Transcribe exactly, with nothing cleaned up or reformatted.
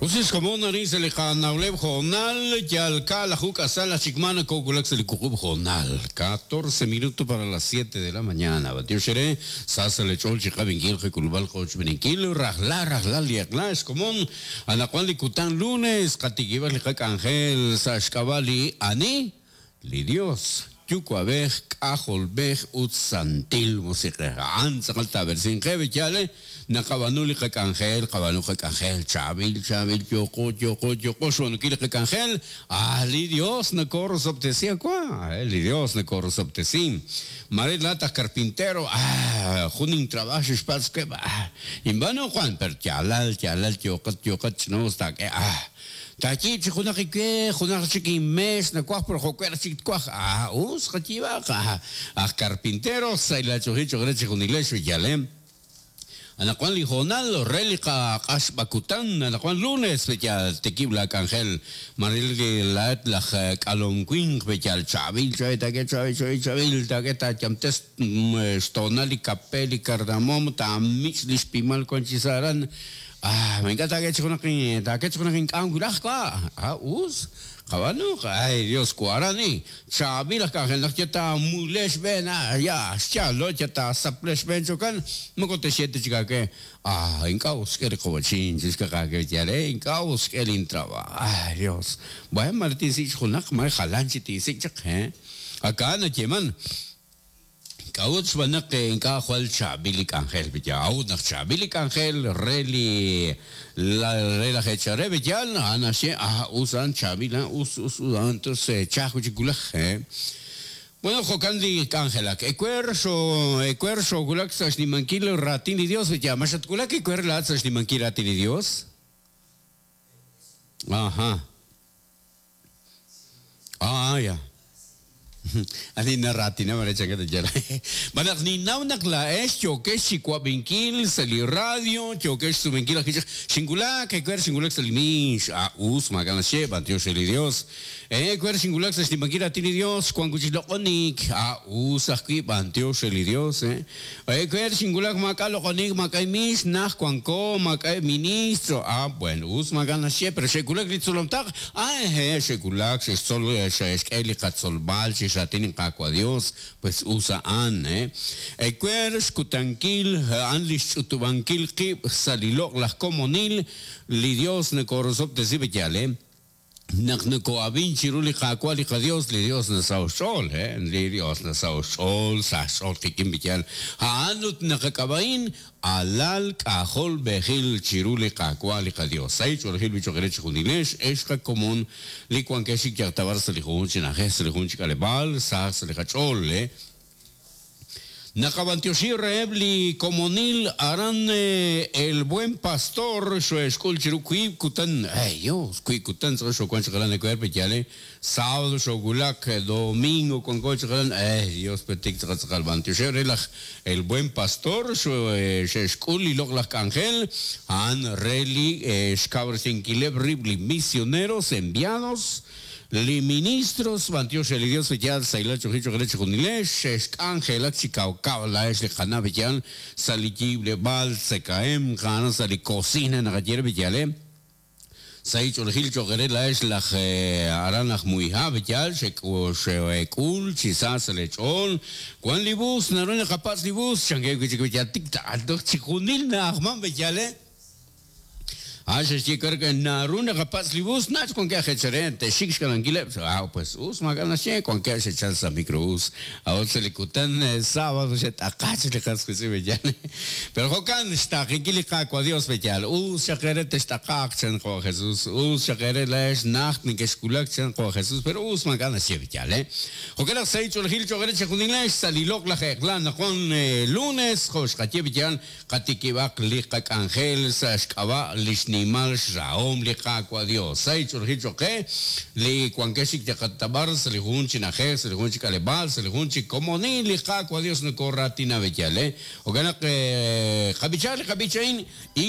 Usis komon arin sa li qanawleb joonal yal kaalaju k'asal achikmana kokulak sa li wuqub' joonal catorce minutos para las siete de la mañana batioxere sasa lech'ol chiqab'inkil qik'ulb'al qochb'ininkil rajla rajla li eq'la xkomon anaqwan li kutan lunes qatikib'al li qak'anjel sa xk'ab'a' li ani li Dios yuwa'b'ej k'ajolb'ej ut santil musiq'ej a'an tz'aqal taab'ersinqe b'iyale naqab'anu li qak'anjel qab'anu qak'anjel chaab'il chaab'il yoqo yoqo yoqo xb'aanunkil li qak'anjel ah li Dios nakorosob'tesi akwa li Dios nakorosob'tesi mare laat aj carpintero ah jun intrabajo xpatz ke ah inb'anu Juan per yalal yalal yoqat yoqat ch'nos taak'e ah Tachi chi junaq ikwe junaq chik inmes nakuaj pero jo'kuer chik tkuaj ah us qachib'aq ah aj carpintero saylachoji choqre chi junilex b'iyalem anaqwan li joonal re li qaq'axb'akutan anaqwan lunes b'iyal tikib' la k'anjel maril li laat laj k'alonwinq b'iyal chaab'il chaab'il taak'e chaab'il chaab'il chaab'il taak'e taayamtes xtoonal li kape li cardamomo taamich' li xpimal wan chi sa' aran ah me encanta que junaq taak'e junaq ink'am wulaj wa ah us qab'anu ay Dios kuarani chaab'il aj k'anjel naq yata mulex b'een ah ya xchalo yata saplex b'een chokan moko texete chikake ah ink'a' us k'e li qowachin chixkaqake yale ink'a' us k'e lintrabajo ay Dios bueno mare tinsik' junaq mare jalan chi tinsik' chaq eh aka nayeman k'a'ut xb'aan ink'a' jwal chaab'il li k'anjel b'iyal a'ut naq chaab'il li k'anjel re li la re laj echare b'iyal a'an naxye ah us a'an chaab'il ah us us us entonces chaj chi kulaj eh bueno jo'kan li k'anjelak ewer xo ewer xokulak sa' xnimankil raatin li Dios b'iyal ma xatkulak ewer laat sa' xnimankil raatin li Dios ajá ah ya ani narratina mare changata yala banaq ninnaw naq laa'ex yokex chiwab'inkil sa' li radio yokex sumenkil aj xinkulak ewer xinkulak sa' li mix ah us maak'a' naxye b'antiox re li Dios ewer xinkulak sa' xnimankil raatin li Dios xwan kuchik loq'onik ah us ajwi' b'antiox re li Dios eh ewer xinkulak maak'a' loq'onik maak'a' mix naj wanko maak'a' ministro ah bueno us maak'a' naxye pero xe'kulak li tzolomtaq ah eh xe'kulak xe'xtzol xe'xk'e li qatzolb'al chi xratin qaawa' Dios pues us a'an eh ewer xkutankil a'an li xch'utub'ankil qib' sa' li loq'laj komonil li Dios nakorosob'tesi b'iyal eh naq nako'ab'in chiru li qaawa' li qaDios li Dios nasaw xch'ool eh li Dios nasaw xch'ool sa xch'ool qik'in b'iyal a'an ut naqak'ab'a'in alal k'ajol b'ejil chiru li qaawa' li qaDios say ch'oolejil bichoqere chi junilex ex qakomon li wankex yaqtabar sa' li jun chi na'ajej sa' li jun chi k'aleb'aal sa sa' li qach'ool eh naqab'antioxi reheb' li komonil aran el buen pastor xoexk'ul chiru wiib' kutan ay Dios wiib' kutan tz'aqal xowan chaqalan ewer b'iyale sábado xokulak domingo wanko chaqalan ay Dios petik tz'aqal tz'aqal b'antioxi re laj el buen pastor xe'xk'ul li loq'laj k'anjel a'an re li xkawresinkileb' rib' li misioneros enviados li ministros b'antiox re li Dios b'iyal sayla choji choqere chi junilex xe'xk'anjelak chi kawkaw laa'ex li qana' b'iyal sa' li yiib'leb'aal tzekaem qana sa' li cocina naqaye b'iyal eh say ch'oolejil choqere laa'ex laj aran laj Muija b'iyal xe'k'ul chi sa sa' li ch'ool wan li bus naru naqapatz' li bus chanke wi' chik b'iyal tik ta'altoq chi junil na'ajman b'iyal eh ah xe'xye karka naru naqapatz' li bus nach wanke aj echere texik xk'alankileb' ah pues us maak'a' naxye wanke xechal sa' microbús a'ut sa' li kutan sábado xet'aqach li qas qitz'in b'iyal pero jo'kan xtaaqinkil li qaawa' Dios b'iyal us xaqere text'aqaq chan qo Jesús us xaqere laa'ex najt nekexkulak chan qo Jesús pero us maak'a' naxye b'iyal eh jo'kan naq say ch'oolejil choqere chi junilex sa' li loq'laj eq'la naqwan lunes jo' xqaye b'iyal qatikib'aq li qak'anjel sa' xk'ab'a' li xnimal xrahom li qaawa' Dios say ch'oolejil choqe li wankex yaqatabar sa' li jun chi na'ajej sa' li jun chi k'aleb'aal sa' li jun chi komonil li qaawa' Dios nakoratina b'iyal eh jo'kan naq qab'icha li qab'ichain.